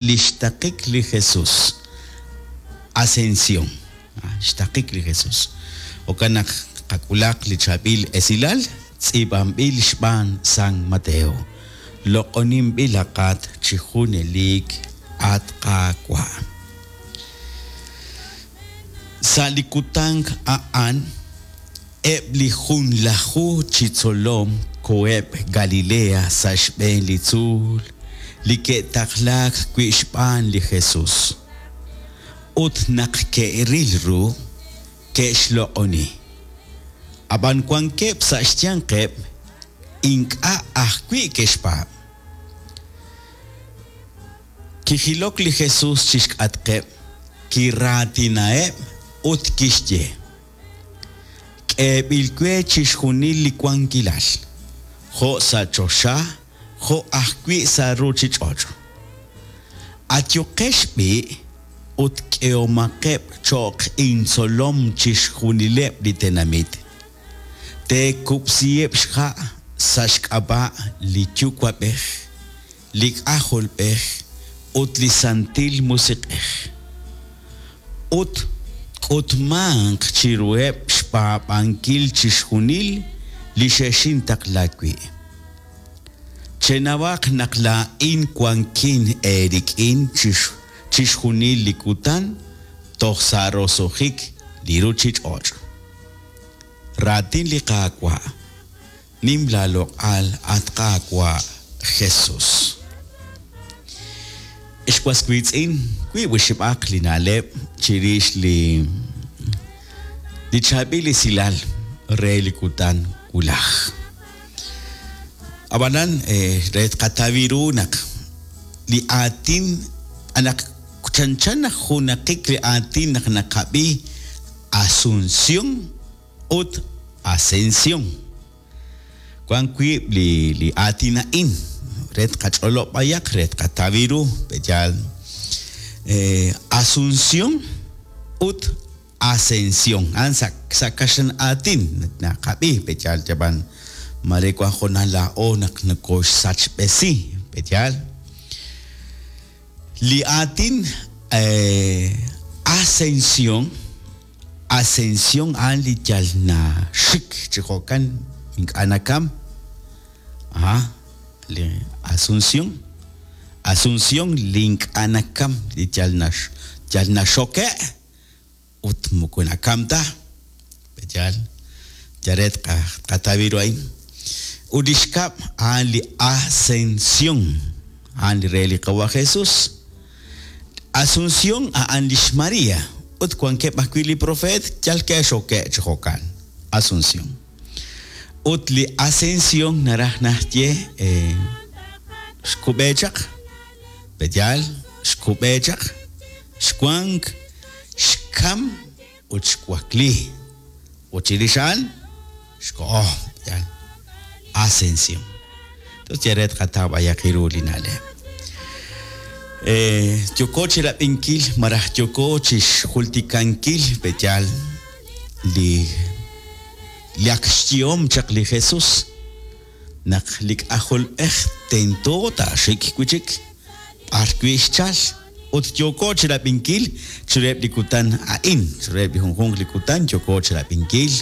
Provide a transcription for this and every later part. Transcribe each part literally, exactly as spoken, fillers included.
Li xtaqik li Jesus, Ascensión, xtaqik li Jesus. Jo'kan naq qak'ulaq li chaab'il esilal tz'iib'anb'il xb'aan San Mateo. Loq'oninb'ilaqat chi junelik, at Qaawa'. Sa' li kutan a'an, eb' li junlaju chi tzolom koheb' Galilea sa' xb'een li tzuul li ke'taqlaak wi' xb'aan li Jesus. Ut naq ke'ril ru, ke'xloq'oni. Ab'an wankeb' sa' xyanqeb' ink'a' ajwi' ke'xpaab'. Kijilok li Jesus chi xk'atqeb', kiraatinaheb' ut kixye: K'eeb'il we chixjunil li wankilal, jo' sa' choxa jo' ajwi' sa' ruuchich'och'. Ayuqex b'i' ut k'ehomaqeb' cho'q intzolom chixjunileb' li tenamit. Teekub'siheb' xha' sa' xk'ab'a' li Yuwa'b'ej, li K'ajolb'ej ut li Santil Musiq'ej. Ut tk'utmanq chiruheb' xpaab'ankil chixjunil li xexintaqla wi'. Chenawaq naq laa'in wankin eerik'in chixjunil li kutan toj sa' roso'jik li ruuchich'och'. Raatin li Qaawa'. Nim laaloq'al, at Qaawa' Jesus. Ex was wiitz'in, wiib' oxib'aq li na'leb' chirix li li chaab'il esilal re li kutan wulaj. Ab'anan re tqataw ru naq li aatin naq chanchan naq junaqik li aatin naq naqab'i Asunción ut Ascensión. Wank wiib' li li aatin a'in re tqach'olob' b'ayaq re tqataw ru pe'yaal Asunción ut Ascensión. A'an sa' sa' kaxlan aatin naqab'i pe'yaal yab'an mare wank hoonal laa'o naq nokoxsachb'esi pe'yaal. Li aatin Ascensión, Ascensión a'an li yal naxik chi jo'kan ink'a' nakam. Aha, li Asunción, Asunción li ink'a' nakam li yal nax yal naxoke' ut moko nakam ta pe'yaal. Yal re tqataw ru a'in. Ut li xkab' a'an li Ascensión, a'an li re li Qawa' Jesus. Asunción a'an lix María ut wankeb' ajwi' li profeet yal ke'xoke' chi jo'kan. Asunción. Ut li Ascensión naraj naxye xkub'e chaq, pe'yaal xkub'e chaq, xwank, xkam ut xwakli. Ut chirix a'an xkoho, pe'yaal Ascensión. Entonces yal re tqataw b'ayaq ru li na'leb'. Yooko chi rab'inkil malaj yooko chi xjultikankil pe'yaal li li ak xyehom chaq li Jesus naq li K'ajolb'ej tento taaxik wi' chik b'ar wi' xchal. Ut yooko chi rab'inkil chiruheb' li kutan a'in, chiruheb' li junjunq li kutan yooko chi rab'inkil,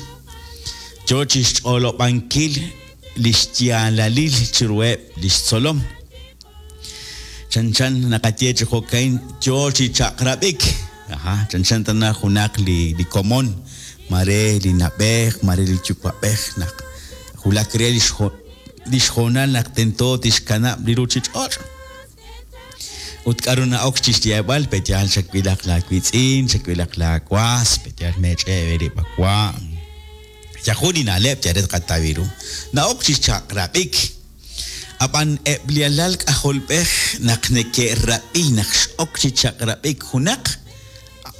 yo chi xch'olob'ankil li xyaalalil chiruheb' li xtzolom. Chanchan naqaye chi jo'kan yo chi chaq'rab'ik. Aha, chanchan tana junaq li li komon, mare li na'b'ej, mare li yuwa'b'ej naq wulak re li xjo li xhoonal naq tento tixkanab' li ruuchich'och'. Ut k'aru na'ok chi xyeeb'al pe'yaal chawilaq laawiitz'in, chawilaq laawas, pe'yaal meech'e' eerib' awa'. Yajun li na'leb' yal re tqataw ru. Na'ok chi xchaq'rab'ik. Ab'an eb' li alal k'ajolb'ej naq neke'rab'i naq x'ok chi chaq'rab'ik junaq,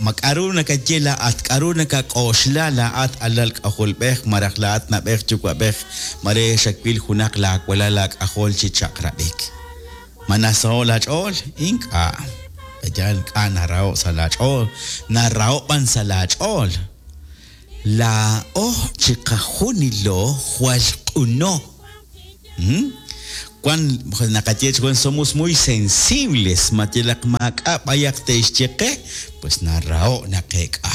ma k'aru nakaye laa'at, k'aru nakak'oxla laa'at alal k'ajolb'ej malaj laa'at na'b'ej yuwa'b'ej mare xawil junaq laawalal laak'ajol chi chaq'rab'ik. Ma nasaho' laach'ool? Ink'a'. Pe'yaal ink'a' naraho' sa' laach'ool, naraho' b'an sa' laach'ool. Laa'o chiqajunilo jwal q'uno. Wan naqaye chi somos muy sensibles, ma yalaq maak'a' b'ayaq te'xye qe, pues naraho' naqeek'a.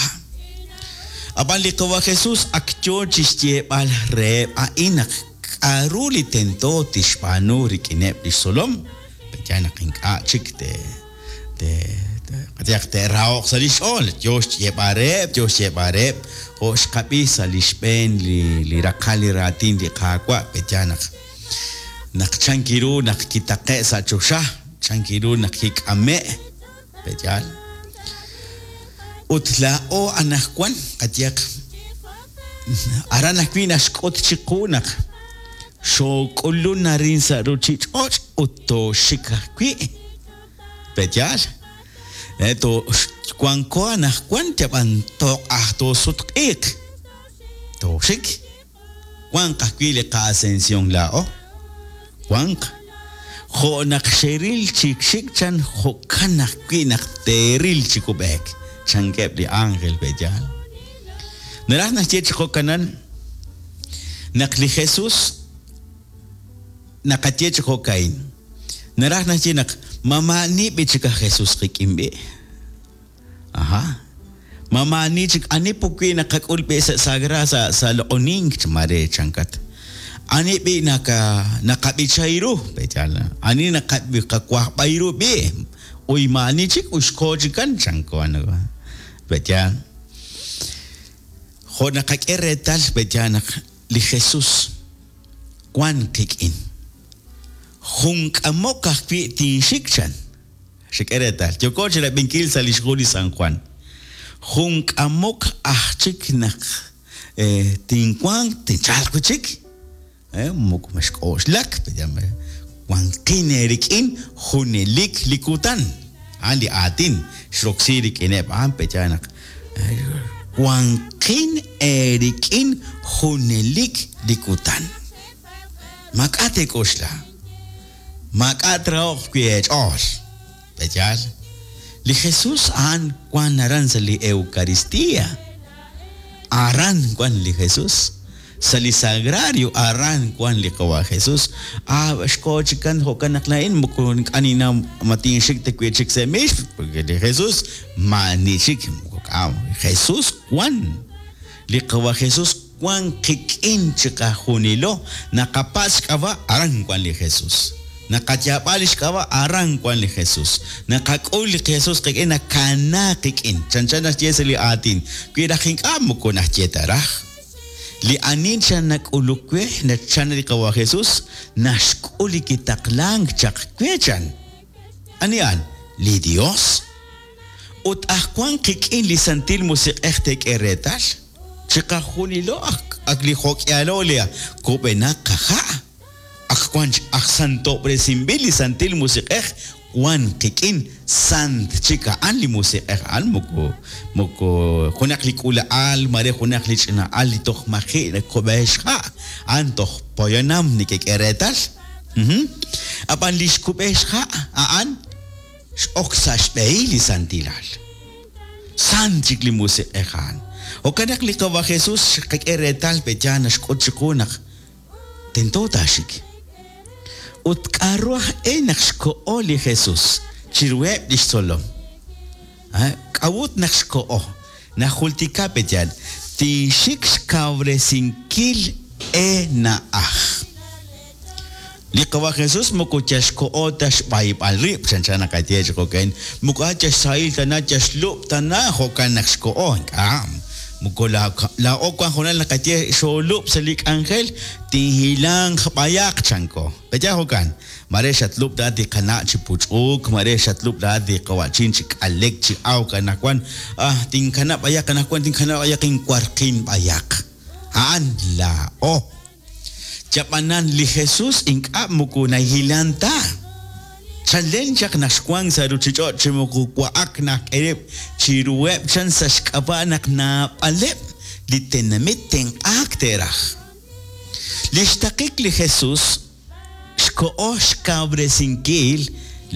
Ab'an li Qawa' Jesús ak yo chi xyeeb'al reheb' a'in naq k'aru li tento tixb'aanu rik'ineb' li xtzolom, pe'yaal naq ink'a' chik te te qayehaq te'raho'q sa' li xch'ool, yo xyeeb'al reheb', yo xyeeb'al reheb', jo' xqab'i sa' li xb'een li li raqal li raatin li Qaawa', pe'yaal naq naq chankiru naq kitaqe' sa' choxa, chankiru naq kik'ame', pe'yaal. Ut laa'o anaqwan qayehaq aran ajwi' naxk'ut chiqu naq xook'ulun arin sa' ruuchich'och' ut tooxik ajwi', pe'yaal. To wanko anaqwan yab'an toq'aj toosutq'iiq, tooxik, wanq ajwi' li qa'ascensión laa'o. Wanq jo' naq xeril chi xik chan jo'kan ajwi' naq teeril chi kub'eek, chankeb' li ángel pe'yaal. Naraj naxye chi jo'kanan naq li Jesús naqaye chi jo'ka'in. Naraj naxye naq mamaani b'i chik aj Jesús qik'in b'i. Aha. Mamaani chik ani pukwi naqak'ul b'i sa' sagra sa' sa' loq'onink mare chankat. Ani b'i naka naqab'ichayru pe'yaal. Ani naqawajb'ayru b'i. Uy maani chik uxko chikan chanko ano. Pe'yaal. Jo' naqak'e reetal pe'yaal naq li Jesús wan qik'in. Jun k'amok ajwi' tinxik chan. Xik'e reetal. Yoko chi rab'inkil sa' li xhu li San Juan. Jun k'amok aj chik naq tinwanq tinchalq wi' chik. Moko maxk'oxlak, wanqin eerik'in junelik li kutan. A'an li aatin xroksi rik'ineb' a'an pe'yaal naq wanqin eerik'in junelik li kutan. Maak'a' teek'oxla. Maak'a' traho'q wi' eech'ool. Pe'yaal. Li Jesús a'an wan aran sa' li Eucaristía. Aran wan li Jesús. Sa' li sagrario aran wan li Qawa' Jesús. Ah, xko chikan jo'kan naq laa'in moko ink'a' ninnaw ma tinxik ta wi' chik sa' mix, porque li Jesús maani chik moko k'a' Jesús wan. Li Qawa' Jesús wan qik'in chiqajunilo. Naqapatz' xk'ab'a' aran wan li Jesús. Naqayaab'a li xk'ab'a' aran wan li Jesús. Naqak'ul li Jesús qik'in nakana qik'in. Chanchan naxye sa' li aatin. Wi raj ink'a' moko naxye ta raj. Li ani chan nak'uluk we, chan li Qawa' Jesús, naxk'ul li kitaqlank chaq we chan. Ani a'an? Li Dios. Ut aj wan qik'in li Santil Musiq'ej teek'e reetal. Chiqajunilo ak li jo'k'ialo li kub'enaq qaja'. Ak wan aj santob'resinb'il li Santil Musiq'ej wan qik'in sant chik a'an li Musiq'ej a'an moko moko junaq li k'ula'al mare junaq li ch'ina'al li toj maji' nakub'e xha' a'an toj poyanam nekek'e reetal. Ab'an li xkub'e xha' a'an x'ok sa' xb'ehil li santilal. Sant chik li Musiq'ej a'an. Jo'kan naq li Qawa' Jesús xqak'e reetal pe'yaal naxk'ut chiqu naq tento taaxik. Ut k'aru aj e naq xko'o li Jesús chiruheb' li xtzolom. K'awut naq xko'o. Najultika pe'yaal tinxik xkawresinkil ena'aj. Li Qawa' Jesús moko yal xko'o ta xb'ayb'al rib', chanchan naqaye chi jo'kan, moko a yal xsahil tana, yal xlub' tana, jo'kan naq xko'o, ink'a'. Moko laa'o wan junal naqaye xoolub' sa' li k'anjel, tinhilanq b'ayaq chanko. Pe'yaal jo'kan, mare xatlub' laa'at li qana' chi puch'uk, mare xatlub' laa'at li qawa'chin chi k'alek, chi awk anaqwan, ah, tinkanab' b'ayaq anaqwan, tinkanab' b'ayaq inwarqin b'ayaq. A'an laa'o. Yab'anan li Jesús ink'a' moko nahilan ta. Chalen chaq naq xwank sa' ruuchich'och' chi moko wa'ak naq k'erib' chiruheb' chan sa' xk'ab'a' naq naab'aleb' li tenamit tenq'aak te'raj. Li xtaqik li Jesús xko'o xkawresinkil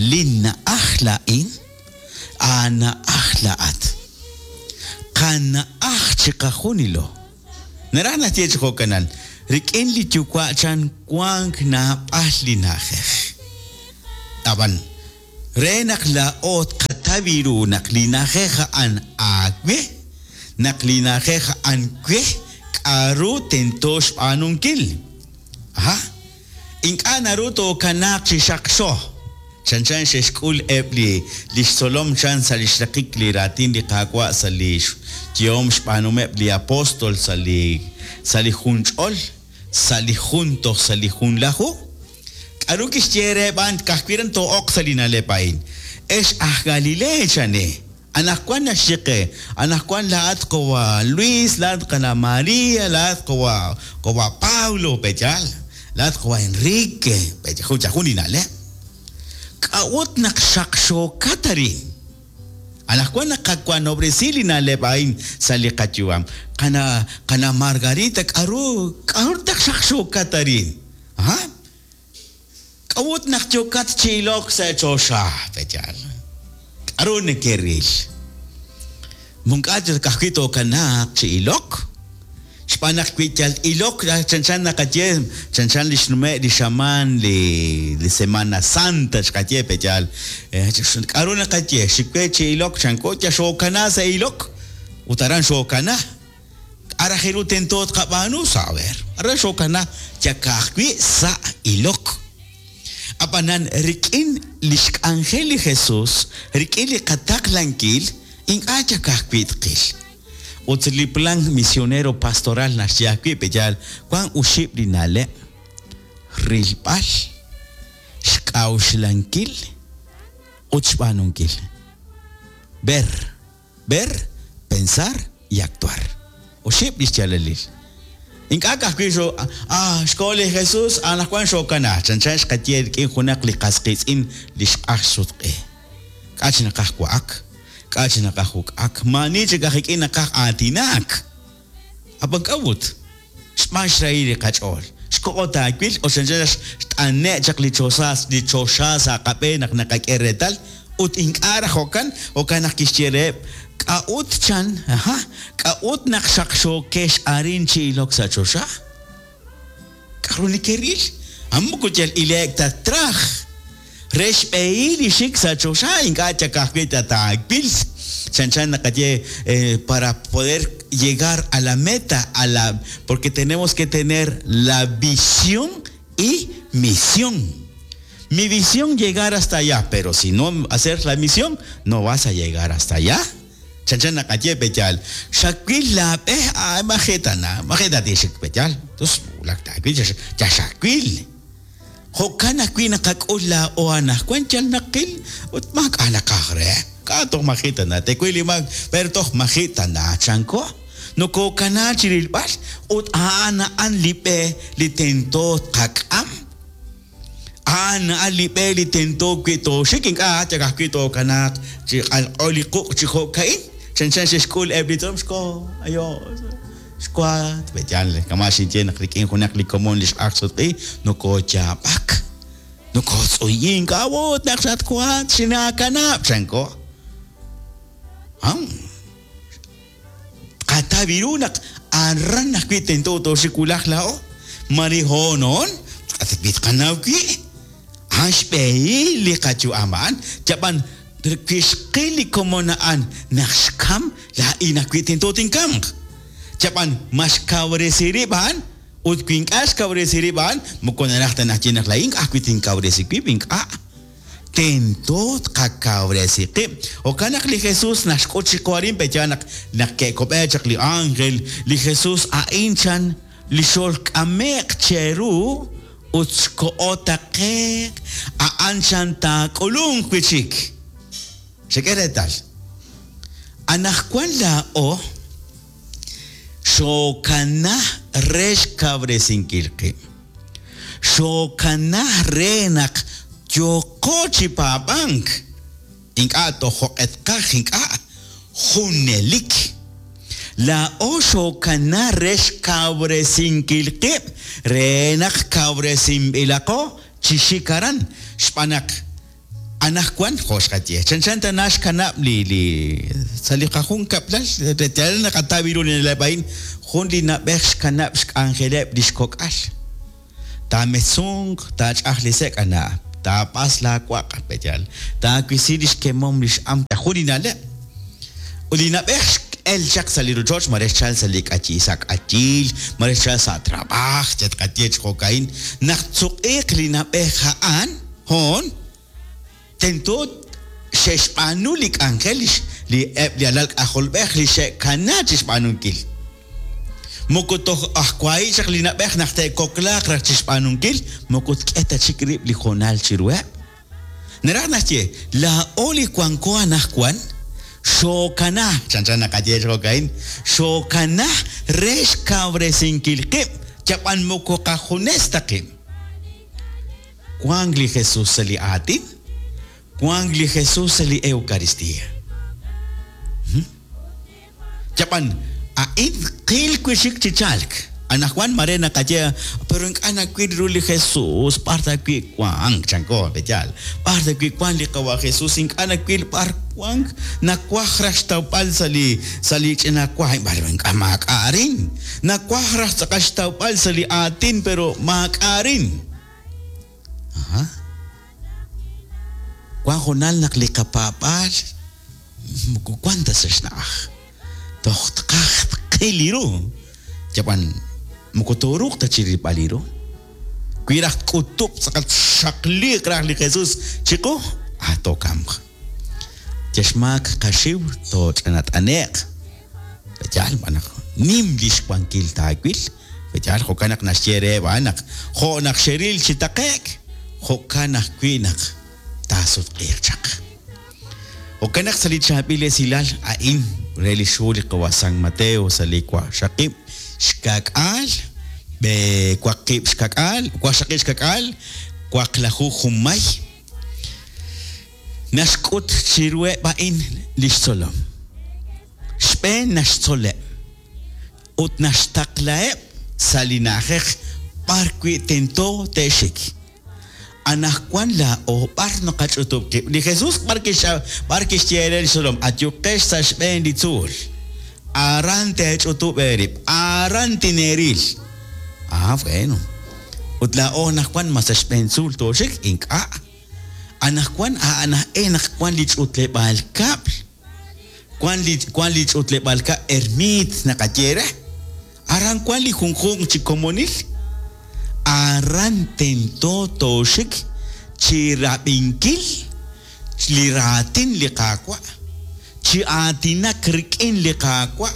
li na'aj laa'in, aana'aj laa'at. Qana'aj chiqajunilo. Naraj naxye chi jo'kanan, Rik'in li yuwa' chan wank naab'al li na'ajej. Ab'an re naq laa'o tqataw ru naq li na'ajej a'an aawe, naq li na'ajej a'an we, k'aru tento xb'aanunkil. Aha, ink'a' naru tookanaaq chi xaqxo. Chanchan xe'xk'ul eb' li li xtzolom chan sa' li xraqik li raatin li Qaawa' sa' li xyehom xb'aanumeb' li apóstol sa' li sa' li jun ch'ol, sa' li jun toj sa' li junlaju. K'aru kixye re b'an ka'ajwi' ran too'oq sa' li na'leb' a'in. Ex aj Galilea chane, anaqwan naxye qe, anaqwan laa'at qawa' Luis, laa'at qana' María, laa'at qawa' qawa' Pablo, pe'yaal, laa'at qawa' Enrique, pe'yaal jun li na'leb'. K'a'ut naq xaqxookat arin. Anaqwan naqawanob'resi li na'leb' a'in sa' li qayu'am. Qana qana Margarita, k'aru k'aru taq xaqxookat arin. Aha. K'a'ut naq yookat chi ilok sa' choxa, pe'yaal. K'aru nekeril. Munk'a ka'ajwi' tookanaaq chi ilok. Xb'aan naq wi yal ilok chanchan naqaye, chanchan li xnume' li xamaan li li Semana Santa xqaye pe'yaal. K'aru naqaye, xikwe chi ilok chanko ya xookana sa' ilok ut aran xookana. K'a' raj ru tento tqab'aanu saber. Aran xookana ya ka'ajwi' sa' ilok. Ab'anan rik'in li xk'anjel li Jesús, rik'in li qataqlankil, ink'a' ya ka'ajwi' tqil. Ut li plan misionero pastoral naxye ajwi' pe'yaal wan uxib' li na'leb', rilb'al, xk'a'uxlankil ut xb'aanunkil. Ver, ver, pensar y actuar. Oxib' li xyaalalil. Ink'a' ka'ajwi' xo ah xkoho li Jesús anaqwan xookana, chanchan xqaye rik'in junaq li qas qiitz'in li xq'aj xsutq'i. K'a' chi naqaj wa'ak, k'a' chi naqaj uk'ak, maani chik aj ik'in naqaj aatinak. Ab'an k'a'ut, xb'aan xrahil li qach'ool. Xkoho taawil o chanchan xt'ane' chaq li choxa li choxa sa' qab'een naq naqak'e reetal ut ink'a' raj jo'kan, jo'kan naq kixye reheb', k'a'ut chan, aha, k'a'ut naq xaqxookex arin chi ilok sa' choxa. K'aru nekeril? Moko yal ileek ta traj. Re xb'ehil li xik sa' choxa ink'a' ya ka'ajwi' ta taawil. Chanchan naqaye eh, para poder llegar a la meta, a la, porque tenemos que tener la visión y misión. Mi visión llegar hasta allá, pero si no hacer la misión, no vas a llegar hasta allá. Chanchan naqaye pe'yaal. Xawil laab'e ah majeta na, majeta tixik pe'yaal. Entonces, wulak taawil ya xawil. Jo'kan ajwi' naqak'ul laa'o anaqwan yal naqil ut maak'a' naqaj re. K'a' toj majita na, tewil li maak, pero toj majita na chanko. Nokokana chi rilb'al ut a'an a'an li b'e li tento tqak'am. A'an a'an li b'e li tento wi' tooxik ink'a' yal ajwi' tookanaaq chi q'alq'o li quq' chi jo'ka'in. Chanchan xe'xk'ul eb' li tzolom xko, ayo, xkuat, pe'yaal, kama' xinye naq rik'in junaq li komon li xq'aj sutq'i, nokooyaab'ak, nokootz'uyink, k'a'ut naq xatkuat xinaakanab' chanko. Am, qataw ru naq aran ajwi' tento tooxik wulaj laa'o, mari honoon, wi tqanaw wi', a'an xb'ehil li qayu'am a'an, yab'an wi xqil li komon a'an naq xkam, laa'in ajwi' tento tinkamq. Yab'an ma xkawresi rib' a'an, ut wi ink'a' xkawresi rib' a'an, moko naraj ta naq ye naq laa'in ajwi' tinkawresi wib' ink'a'. Tento tqakawresi qib'. Jo'kan naq li Jesús naxk'ut chiqu arin pe'yaal naq naq ke'kob'e chaq li ángel, li Jesús a'in chan li xolk'ame'q cheru ut xkoho taqe'q, a'an chan taak'ulunq wi' chik. Xek'e reetal. Anaqwan laa'o xookana re xkawresinkil qib'. Xookana re naq yooqo chi paab'ank. Ink'a' toj jo'q'etqaj, ink'a' junelik. Laa'o xookana re xkawresinkil qib' re naq kawresinb'ilaqo chi xik aran. Xb'aan naq Anaqwan jo' xqaye chanchan tana xkanab' li li sa' li qajunkab'lal yal naqataw ru li na'leb' a'in jun li na'b'ej xkanab' xk'anjeleb' li xkok'al taametzunk taach'aj li sek' ana' taab'as laawaq' peyal taawisi li xkemom li x'am jun li na'leb' ut li na'b'ej x'el chaq sa' li rochoch mare xchal sa' li k'ayi sa' k'ayil mare xchal sa' trab'aj chatqaye chi jo'ka'in naq tzuq'iiq li na'b'ej a'an hoon tento xe'xb'aanu li k'anjel li eb' li alal k'ajolb'ej li xe'kana chi xb'aanunkil moko toj ajwahi chaq li na'b'ej naq te'koklaaq raj chi xb'aanunkil moko tk'e ta chik rib' li hoonal chiruheb' naraj naxye laa'o li wanko anaqwan xookana chanchan naqaye chi jo'ka'in xookana re xkawresinkil qib' yab'an moko qajunes ta qib' wank li Jesús sa' li aatin wank li Jesús sa' li Eucaristía yab'an a'in qil wi' chi chalk anaqwan mare naqaye pero ink'a' nawil ru li Jesús b'ar ta wi' wank chanko peyal b'ar ta wi' wank li qawa Jesús ink'a' nawil b'ar wank nawaj raj xtawb'al sa' li sa' li ch'ina wa b'ar ink'a' maak'a' arin nawaj raj tz'aqal xtawb'al sa' li aatin pero maak'a' arin aha wan hoonal naq li qapaab'aal moko wan ta sa' xna'aj toj tqaj tqil li ru yab'an moko tooruuq ta chi rilb'al li ru wi raj tk'utub' tz'aqal xaqliiq raj li Jesús chiqu ah tookamq yaxmaak qaxiw tooch'anat'ane'q peyal b'an naq nim li xwankil taawil peyal jo'kan naq naxye reheb' a'an naq jo' naq xeril chi taqe'k jo'kan ajwi' naq taasutq'iiq chaq jo'kan naq sa' li chaab'il esilal a'in re li xhu li qawa San Mateo sa' li waqxaqib' xkak'aal b'e waqib' xkak'aal waqxaqib' xkak'aal waqlaju junmay naxk'ut chiruheb' a'in li xtzolom xb'een naxtzoleb' ut naxtaqlaheb' sa' li na'ajej b'ar wi' tento te'xik anaqwan laa'o b'ar naqach'utub' qib' li Jesús b'ar kix'a b'ar kixye re li xtzolom ayuqex sa' xb'een li tzuul aran teech'utub' eerib' aran tineeril ah bueno ut laa'o anaqwan ma sa' xb'een tzuul tooxik ink'a' anaqwan a'an aj e naq wan li ch'utleb'aal kab'l wan li wan li ch'utleb'aal kab'l ermiit naqaye re aran wan li junjunq chi komonil aran tento tooxik chi rab'inkil li raatin li Qaawa' chi aatinak rik'in li Qaawa'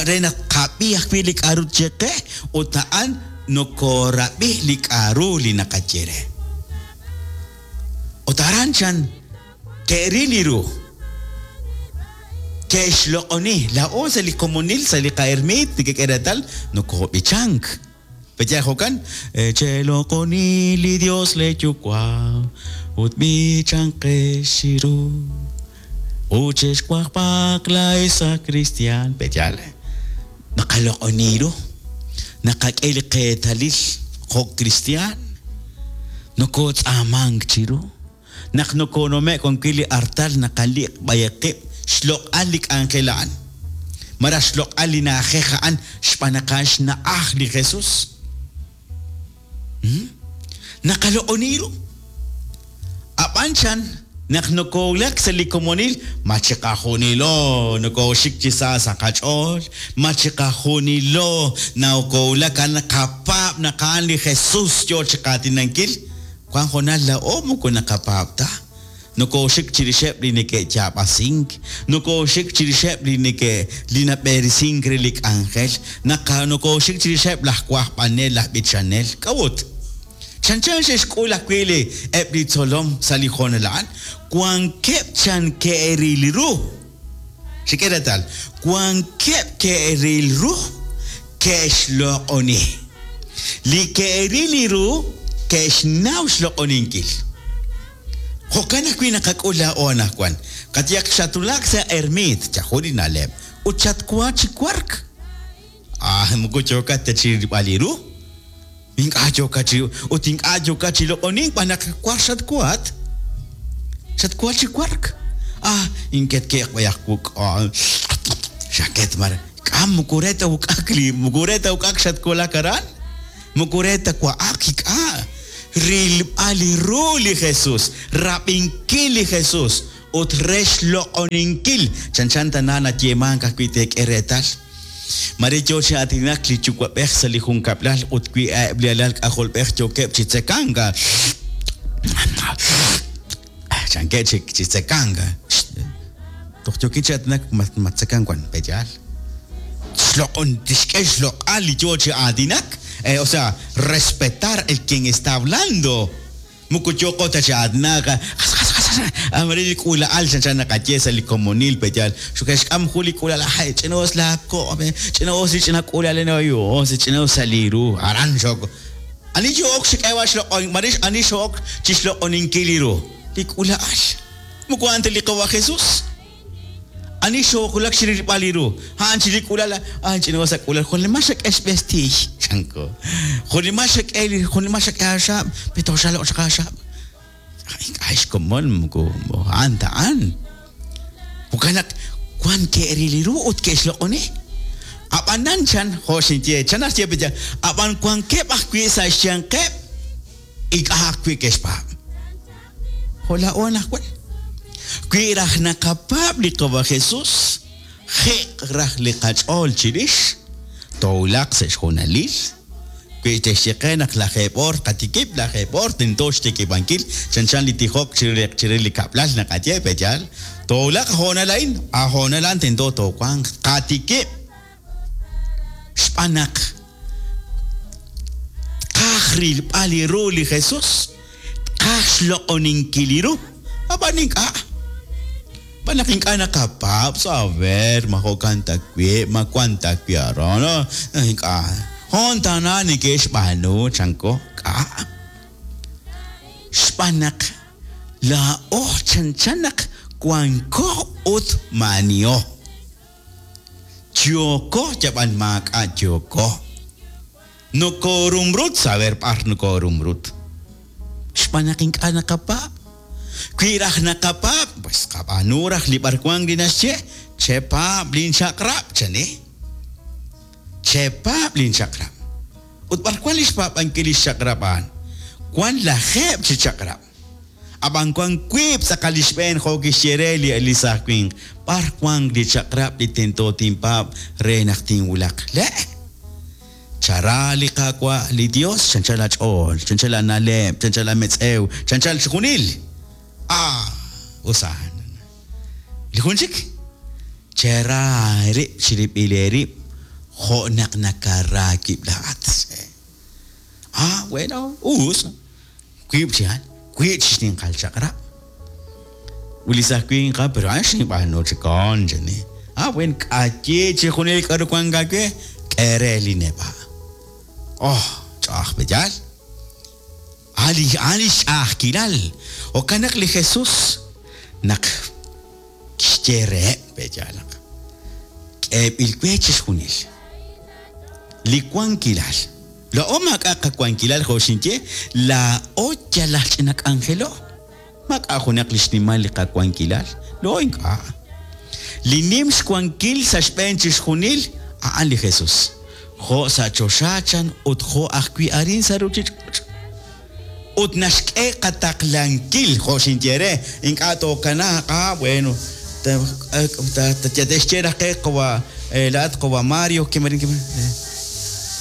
re naq qab'i ajwi' li k'a'ru tyeqe ut a'an nokoorab'i li k'a'ru li naqaye re ut aran chan ke'ril li ru ke'xloq'oni laa'o sa' li komonil sa' li qa'ermiit nekek'e reetal nokoob'ichank Peya jo'kan cheloq'oni li Dios le Yuwa' ut b'ichanqex chiru ut chexwajb'aq laa'ex sa' cristian peyal naqaloq'oni ru naqak'e li qeetalil jo' cristian nokootz'aamank chiru naq nokoonume'k wan wi' li artal naqaliq' b'ayaq qib' xloq'al li k'anjel a'an maraj xloq'al li na'ajej a'an xb'aan naq a'an xna'aj li Jesús naqaloq'oni ru ab'an chan naq nokoowulak sa' li komonil ma chiqajunilo nokooxik chi sa sa' qach'ool ma chiqajunilo nakoowulak a'an naqapaab' naq a'an li Jesús yoo chi qaatinankil wan hoonal laa'o moko naqapaab' ta nokooxik chirixeb' li neke'yaab'asink nokooxik chirixeb' li neke' li nab'eresink re li k'anjel naqa nokooxik chirixeb' laj wajb'anel laj b'ichanel k'a'ut chanchan xe'xk'ul ajwi' li eb' li tzolom sa' li hoonal a'an wankeb' chan ke'ril ru xik'e reetal wankeb' ke'ril ru ke'xloq'oni li ke'ril li ru ke'xnaw xloq'oninkil jo'kan ajwi' naqak'ul laa'o anaqwan qayehaq xatulak sa' ermiit chajun li na'leb' ut xatwa chi wark ah moko yookat ta chi rilb'al li ru ink'a' yookat chi ut ink'a' yookat chi loq'onink b'an naq war xatwaat Xatwa chi wark. Ah, inketke'q b'ayaq wuk'a. Xaket mar. K'a moko re ta wuk'ak li moko re ta wuk'ak xatwulak aran. Moko re ta wa'ak ink'a'. Rilb'al li ru li Jesus, rab'inkil li Jesus ut re xloq'oninkil. Chanchan tana nayeemank ajwi' teek'e reetal. Mare yo chi aatinak li yuwa'b'ej sa' li junkab'lal ut wi eb' li alal k'ajolb'ej yookeb' chi tzekank. Chankeb' chi chi tzekank. Toj yookin chi aatinak ma tzekank wan peyaal. Xloq'on tixk'e xloq'al li yo chi aatinak. Eh, o sea, respetar el quien está hablando. Moko yooqo ta chi aatinak. Amare li k'uula'al chanchan naqaye sa' li komonil peyaal. Xuke'xk'am jun li k'uula'al, ay, ch'ina'us laako', ch'ina'us li ch'ina k'uula'al yo, ch'ina'us sa' li ru. Aran xok. Ani yook xk'eeb'al xloq'on, mare ani xook chi xloq'oninkil li ru. Li k'uula'al. Moko a'an ta li qawa Jesus. Ani xoowulak chi rilb'al li ru. A'an chi li k'uula'al, a'an ch'ina'us sa' k'uula'al. Jun li xak'e xb'estiiy, chanko. Jun li xak'e li jun li xak'e aaxab', pero xaloq' chaq aaxab'. Ink'a' xkomon moko a'an ta a'an. Jo'kan naq wan ke'ril li ru ut ke'xloq'oni. Ab'anan chan, jo' xinye, chan naxye peya, ab'an wankeb' ajwi' sa' xyanqeb' ink'a' ajwi' ke'xpaab'. Jo' laa'o anaqwan. Wi raj naqapaab' li qawa Jesus, jiq raj li qach'ool chirix, toowulaq sa' xjunalil. Wi te'xye qe naq lajeeb' oor qatikib', lajeeb' oor tento xtikib'ankil, chanchan li tijok chire chire li kab'lal naqaye peyaal. Toowulaq hoonal a'in, a hoonal a'an tento toowanq qatikib'. Xb'aan naq tqaj rilb'al li ru li Jesus, tqaj xloq'oninkil li ru, ab'an ink'a'. B'an naq ink'a' naqapaab' saber ma jo'kan ta wi', ma wan ta wi' aran, ink'a'. Hoon tana neke'xb'aanu chanko k'a'. Xb'aan naq laa'o chanchan naq wanko ut maaniho. Yooko yab'an maak'a' yooko. Nokorumrut saber b'ar nokorumrut. Xb'aan naq ink'a' naqapaab'. Wi raj naqapaab', pues qab'aanu raj li b'arwan li naxye, chepaab' linchaq'rab', chani. Chepaab' linchaq'rab'. Ut b'arwan li xpaab'ankil li xchaq'rab' a'an? Wan lajeeb' chi chaq'rab'. Ab'an wan wiib' tz'aqal li xb'een jo' kixye re li li saaj winq. B'ar wan li chaq'rab' li tento tinpaab' re naq tinwulaq? Le'. Chara li Qaawa' li Dios, chanchal ach'ool, chanchal ana'leb', chanchal ametz'ew, chanchal xjunil. Ah, usan. Li jun chik? Chera rib' chirib'il eerib' jo' naq nakara wib' laa'at. Ah, bueno, us. Wiib' chi a'an, wiib' chi xninqal chaq'rab'. Ut li saaj winq, ah, pero a'an xinb'aanu chi kon, chani. Ah, bueno, k'ayi chi junil k'aru wank aawe, k'e re li neb'a'. Oh, ch'a'aj peyaal. Ali ali xch'a'ajkilal. Jo'kan naq li Jesus naq kixye reheb' peyaal naq k'eeb'il we chixjunil. Li wankilal. Laa'o maak'a' qawankilal jo' xinye, laa'o yal aj ch'ina k'anjelo. Maak'a' junaq li xnimal li qawankilal, laa'o ink'a'. Li nim xwankil sa' xb'een chixjunil a'an li Jesus. Jo' sa' choxa chan ut jo' ajwi' arin sa' ruuchich'och'. Ut naxk'e qataqlankil jo' xinye re, ink'a' tookanaaq, ah, bueno, te'xye raj qe qawa, laa'at qawa Mario, kimarin, kimarin,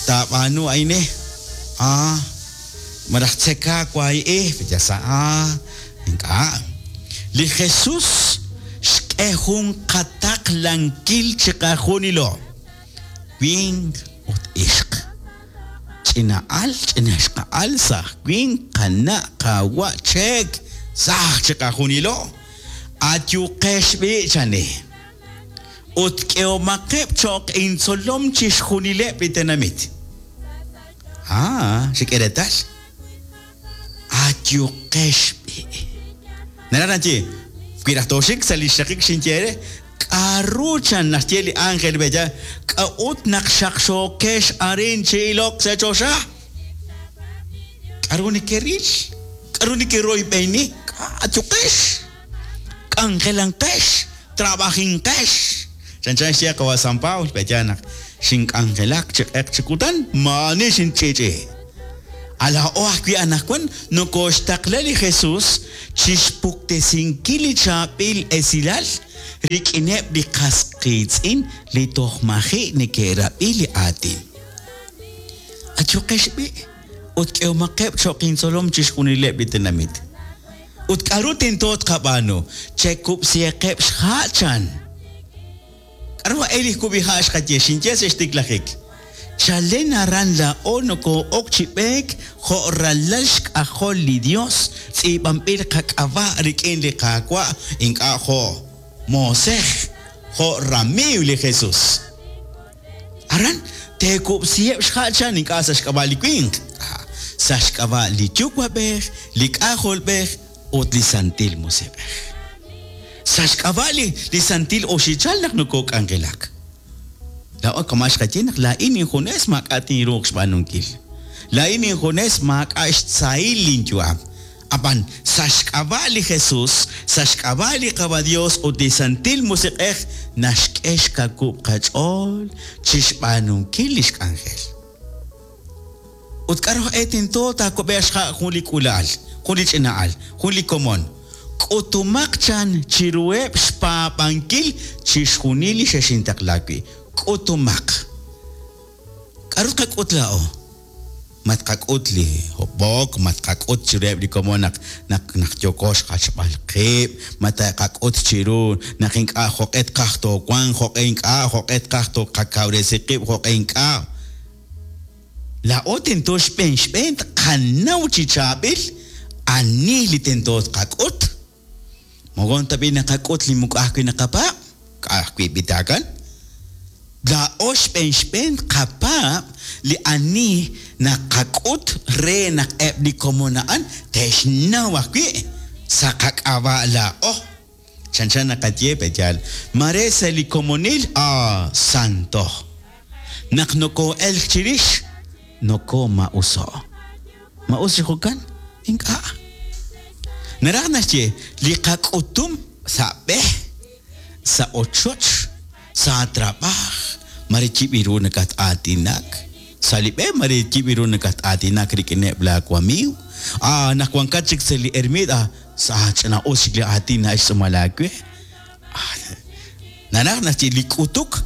taab'aanu a'in, ah, maraj tzeka wahi, ya sa, ah, ink'a'. Li Jesus xk'e jun qataqlankil chiqajunilo, winq ut ixq. Ch'ina'al, ch'inaxqa'al, saj winq, qana', qawa', cheek, saj chiqajunilo. Ayuqex b'i' chani. Ut k'ehomaqeb' cho'q intzolom chixjunileb' li tenamit. Ah, xik'e reetal. Ayuqex b'i'. Naraj naxye, wi raj tooxik sa' li xraqik xinye re, k'aru chan naxye li ángel bella, k'a'ut naq xaqxookex arin chi ilok sa' choxa? K'aru nekeril? K'aru nekeroyb'eni? Ayuqex. K'anjelanqex, trabajinqex. Chanchan xye qawa' San Pablo, pe'yaal naq xink'anjelak chi q'eq chi kutan, maa'ani xinch'i'ch'i. Laa'o ajwi' anaqwan nokooxtaqla li Jesus chixpuktesinkil li chaab'il esilal rik'ineb' li qas qiitz'in li toj maji' neke'rab'i li aatin. Ayuqex b'i' ut k'ehomaqeb' cho'q intzolom chixjunileb' li tenamit. Ut k'aru tento tqab'aanu? Chekub'sihaqeb' xha' chan. K'aru a'e li kub'iha' xqaye? Xinye sa' xtiklajik. Chalen aran laa'o nokoo'ok chi b'eek jo' ralal xk'ajol li Dios, tz'iib'anb'il qak'ab'a' rik'in li Qaawa', ink'a' jo' moosej, jo' ramiiw li Jesus. Aran teekub'siheb' xha' chan ink'a' sa' xk'ab'a' li winq, sa' xk'ab'a' li Yuwa'b'ej, li K'ajolb'ej ut li Santil Musiq'ej. Sa' xk'ab'a' li li Santil Oxichal naq nokook'anjelak. Laa'o kama' xqaye naq laa'in injunes maak'a' tinruuq xb'aanunkil. Laa'in injunes maak'a' xtzahil linyu'am. Ab'an sa' xk'ab'a' li Jesus, sa' xk'ab'a' li Qawa' Dios ut li Santil Musiq'ej naxk'e xkawub' qach'ool chi xb'aanunkil li xk'anjel. Ut k'aru e tento taakub'eeq xha' jun li k'uula'al, jun li ch'ina'al, jun li komon. K'utumaq chan chiruheb' xpaab'ankil chixjunil li xexintaqla wi'. K'utumaq. K'aru tqak'ut laa'o? Ma tqak'ut li hob'ok, ma tqak'ut chiruheb' li komon naq naq naq yooko xjachb'al qib', ma taqak'ut chiru naq ink'a' jo'q'e tqaj toowanq, jo'q'e ink'a', jo'q'e tqaj toqakawresi qib', jo'q'e ink'a'. Laa'o tento xb'een xb'een tqanaw chi chaab'il ani li tento tqak'ut. Mogon tab'i naqak'ut li moko ajwi' naqapaab', ka'ajwi' b'itaakan. Laa'o xb'een xb'een tqapaab' li ani naqak'ut re naq eb' li komon a'an te'xnaw ajwi' sa' qak'ab'a' laa'o. Chanchan naqaye pe'yaal, mare sa' li komonil ah santo. Naq nokoo'elk chirix, nokooma'uso'. Ma'us chi jo'kan? Ink'a'. Naraj naxye li qak'utum sa' b'e, sa' ochoch, sa' trab'aj, mare yib' ru nakat-aatinak. Sa' li b'e mare yib' ru nakat-aatinak rik'ineb' laawamiiw. Ah, naq wankat chik sa' li ermid, ah, sa' ch'ina'us chik li aatin na'xtz'uumal aawe. Ah, naraj naxye li k'utuk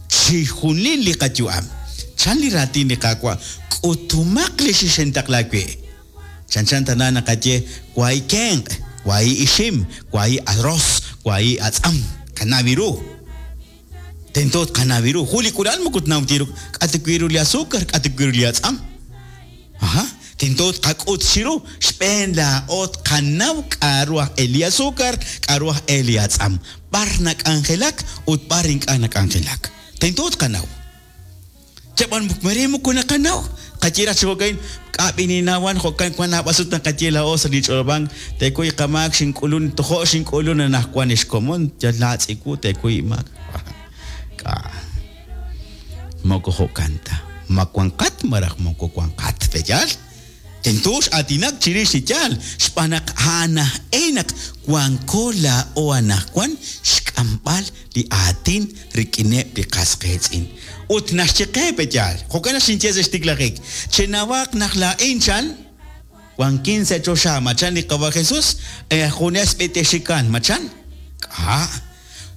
chixjunil li qayu'am. Chan li raatin li Qaawa', k'utumaq li xixintaqla wi'. Chanchan tana naqaye wahi kenq', wahi ixim, wahi arroz, wahi atz'am, qanaw ru. Tento tqanaw ru. Jun li k'uula'al moko tnaw ta ru k'a' ta wi' ru li azúcar, k'a' ta wi' ru li atz'am. Aha, tento tqak'ut chiru xb'een laa'o tqanaw k'a'ru aj e li azúcar, k'a'ru aj e li atz'am. B'ar nak'anjelak ut b'ar ink'a' nak'anjelak. Tento tqanaw. Chab'an mare moko naqanaw. Qaye raj chi jo'kan, k'a' b'ininawan jo'kan wan naab'al sut naqaye laa'o sa' li ch'olob'ank, teekuy qamaak xink'ulun, tojo' xink'ulun anaqwan xkomon, yal laatz'iku teekuy imaak. K'a' moko jo'kan ta. Ma wanqat maraj moko wanqat, pe'yaal? Tento x'aatinak chirix li yaal, xb'aan naq a'an aj e naq wanko laa'o anaqwan xk'amb'al li aatin rik'ineb' li qas qiitz'in. Ut naxye qe pe'yaal, jo'kan naq xinye sa' xtiklajik, chenawaq naq laa'in chan wankin sa' choxa, machan li Qawa' Jesus, junes b'itexikan, machan? K'a'.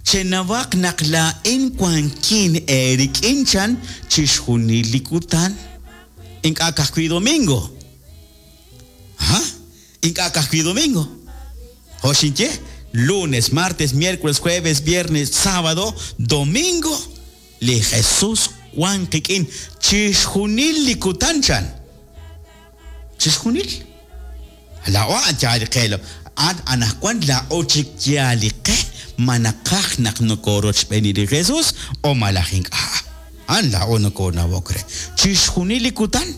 Chenawaq naq laa'in wankin eerik'in chan chixjunil li kutan. Ink'a' ka'ajwi' domingo. Aha, ink'a' ka'ajwi' domingo. Jo' xinye, lunes, martes, miércoles, jueves, viernes, sábado, domingo, li Jesus wan qik'in chixjunil li kutan chan. Chixjunil. Laa'o a'an yaal li qe. A'an anaqwan laa'o chik yaal li qe ma naqaj naq nokorochb'eeni li Jesus o malaj ink'a'. A'an laa'o nokoonawok re. Chixjunil li kutan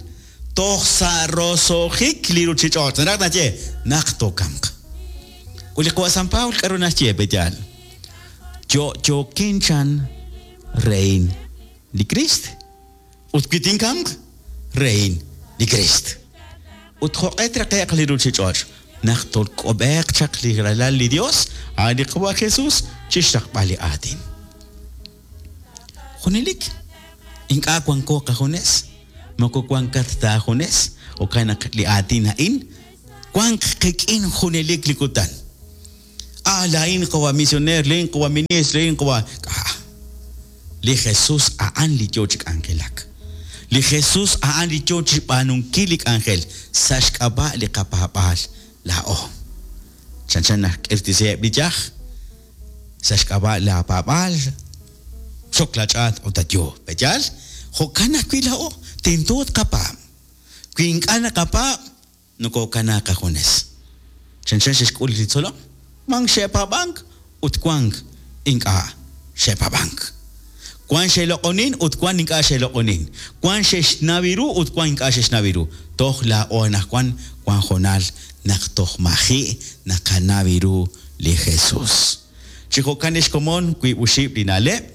toj sa' roso'jik li ruuchich'och'. Naraj naxye naq tookamq. Ut li Qawa' San Pablo k'aru naxye pe'yaal? Yo'yokin chan rein li Kriist. Ut wi tinkamq, rein li Kriist. Ut jo'q'e traqe'q li ruuchich'och', Naq tolk'ob'eeq chaq li ralal li Dios, a'an li Qawa' Jesus, chixraqb'al li aatin. Junelik, ink'a' wanko qajunes, moko wankat ta ajunes, jo'kan naq li aatin a'in wanq qik'in junelik li kutan. Ah, laa'in qawa misioneer, laa'in qawa ministro, laa'in qawa... Ah, li Jesus a'an li yoo chi k'anjelak. Li Jesus a'an li yoo chi b'aanunkil li k'anjel sa' xk'ab'a' li qapaab'aal laa'o. Chanchan naq k'irtisiheb' li yaj sa' xk'ab'a' la paab'aal, xok la ch'aat ut ayo. Pe'yaal? Jo'kan ajwi' laa'o tento tqapaab'. Wi ink'a' naqapaab', nokokanaaq qajunes. Chanchan xe'xk'ul li tzolom, wank xe'paab'ank ut wank ink'a' xe'paab'ank. Wank xe'loq'onin ut wank ink'a' xe'loq'onin. Wank xe'xnaw ru ut wank ink'a' xe'xnaw ru. Toj laa'o anaqwan wank jonal naq toj maji' naqanaw ru li Jesus. Chi jo'kan ex komon wiib' oxib' li na'leb'.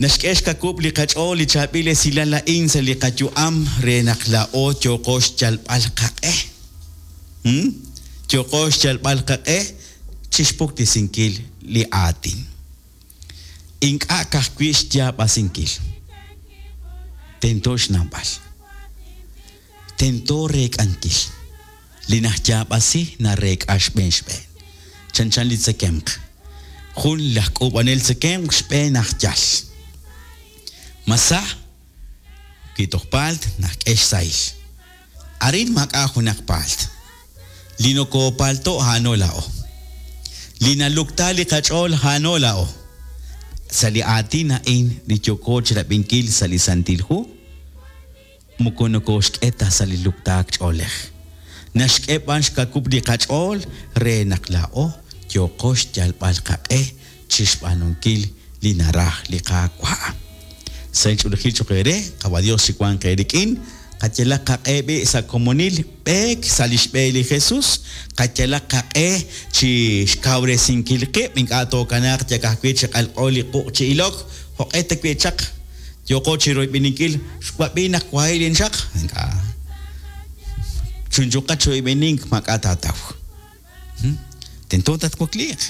Naxk'e xkakub' li qach'ool li chaab'il esilal a'in sa' li qayu'am re naq laa'o yooqo xyalb'al qaq'e. Hmm? Yooqo xyalb'al qaq'e chixpuktesinkil li aatin. Ink'a' ka'ajwi' xyaab'asinkil. Tento xnawb'al. Tento reek'ankil. Li najyaab'asi nareek'a xb'een xb'een. Chanchan li tzekemq. Jun laj k'uub'anel tzekemq xb'een aj yal. Masa, wi toj paalt najk'e xsahil. Arin maak'a' junaq paalt. Li nokopaalto' a'ano laa'o. Li nalukta li qach'ool a'ano laa'o. Sa' li aatin a'in li yooko chirab'inkil sa' li Santil Hu, moko nokoxk'e ta sa' li luktaak ch'oolej. Naxk'e b'an xkakub' li qach'ool re naq laa'o yooqo xyalb'al qaq'e chixb'aanunkil li naraj li Qaawa'. Sa' ch'oolejil choq' eere, Qawa' Dios chiwanq eerik'in, qayalaq qaq'e b'i' sa' komonil b'eek sa' lix b'e li Jesus, qayalaq qaq'e chi xkawresinkil qib', ink'a' tookanaaq yak ajwi' chi q'alq'o li quq' chi ilok, jo'q'e ta wi' chaq, yooqo chi royb'eninkil, xwab'i naq wahilin chaq, ink'a'. Chunchuqa choyb'enink maak'a' taataw. Hmm? Tento tatwakliiq.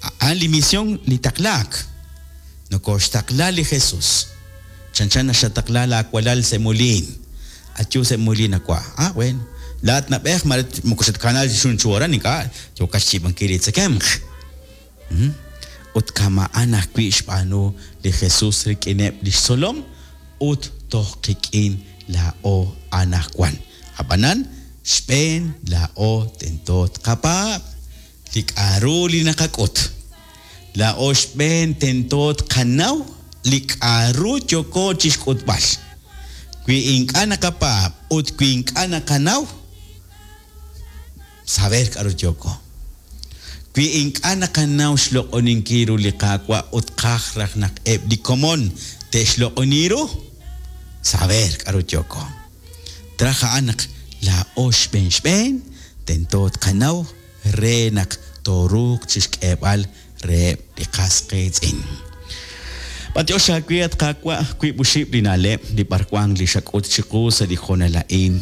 A'an li misión li taqlaak. Nokoxtaqla li Jesus. Chanchan naxataqla laa walal sa' muliin. Ayu sa' muliin awa. Ah, bueno. Laat nab'ej mare moko xatkanal xunchu aran ink'a' yookat xyiib'ankil li tzekemq. Hmm? Ut kama'an ajwi' xb'aanu li Jesus rik'ineb' lix tzolom ut toj qik'in laa'o anaqwan. Ab'anan xb'een laa'o tento tqapaab' li k'a'ru li naqak'ut. Laa'o xb'een tento tqanaw li k'a'ru yooko chixk'utb'al. Wi ink'a' naqapaab' ut wi ink'a' naqanaw, saber k'a'ru yooko. Wi ink'a' naqanaw xloq'oninkil ru li Qaawa' ut qaj raj naq eb' li komon te'xloq'oni ru, saber k'a'ru yooko. Traj a'an naq laa'o xb'een xb'een tento tqanaw re naq tooruuq chixk'eeb'al reheb' li qas qiitz'in. B'antiox aawe at Qaawa' wiib' oxib' li na'leb' li b'arwan li xak'ut chiqu sa' li hoonal a'in.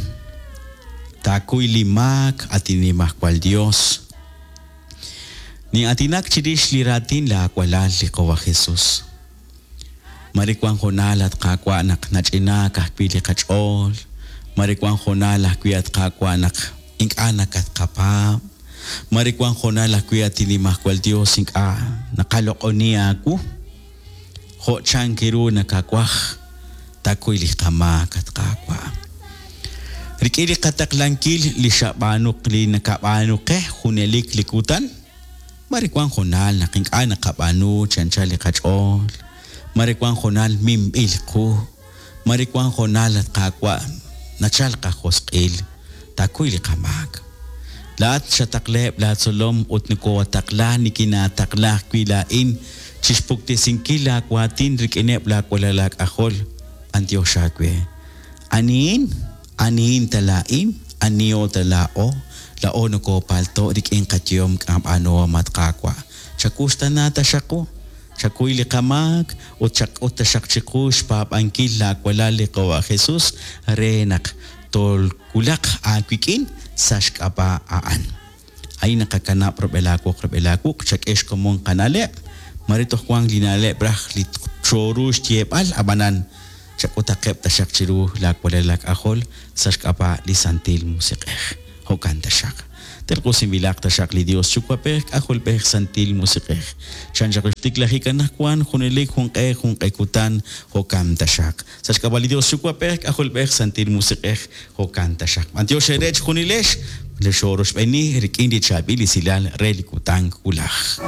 Taakuy li maak at Nimajwal Dios. Ni'aatinak chirix li raatin laawalal li Qawa' Jesus. Mare wan hoonal at Qaawa' naq nach'inaak ajwi' li qach'ool. Mare wan hoonal ajwi' at Qaawa' naq ink'a' nakatqapaab'. Mare wan hoonal ajwi' at Nimajwal Dios ink'a' naqaloq'oni aawu. Jo' chank ru nakawaj taakuy li qamaak at Qaawa'. Rik'in li qataqlankil li xab'aanu li nakab'aanu qe junelik li kutan, mare wan hoonal naq ink'a' naqab'aanu chi anchal li qach'ool. Mare wan hoonal minb'il qu. Mare wan hoonal at Qaawa' nachal qajosq'il, taakuy li qamaak. Laat xataqleb' laatzolom ut nokowataqla nikinaataqla ajwi' laa'in chixpuktesinkil laawaatin rik'ineb' laawalal laak'ajol. B'antiox aawe. Anihin, anihin ta laa'in, aniho ta laa'o, laa'o nokopaalto' rik'in qayehom k'ab'aanuhom at Qaawa'. Chakuxtana taxaq qu, chakuy li qamaak ut chak'ut taxaq chiqu xpaab'ankil laawalal li Qawa' Jesus re naq tolwulaq aawik'in sa' xk'ab'a' a'an. A'in naqakanab' rub'el aawoq rub'el aawuq', chak'e xkomon qana'leb', mare toj wank li na'leb' raj li chooru xyeeb'al, ab'anan chak'utaqeb' taxaq chiru laawalal laak'ajol sa' xk'ab'a' li Santil Musiq'ej. Jo'kan taxaq. Terq'usinb'ilaq taxaq li Dios Yuwa'b'ej, K'ajolb'ej, Santil Musiq'ej. Chan chaq xtiklajik anaqwan junelik junq'e junq'e kutan, jo'kan taxaq. Sa' xk'ab'a' li Dios Yuwa'b'ej, K'ajolb'ej, Santil Musiq'ej, jo'kan taxaq. B'antiox eere chejunilex, li xoorochb'eeni rik'in li chaab'il esilal re li kutan wulaj.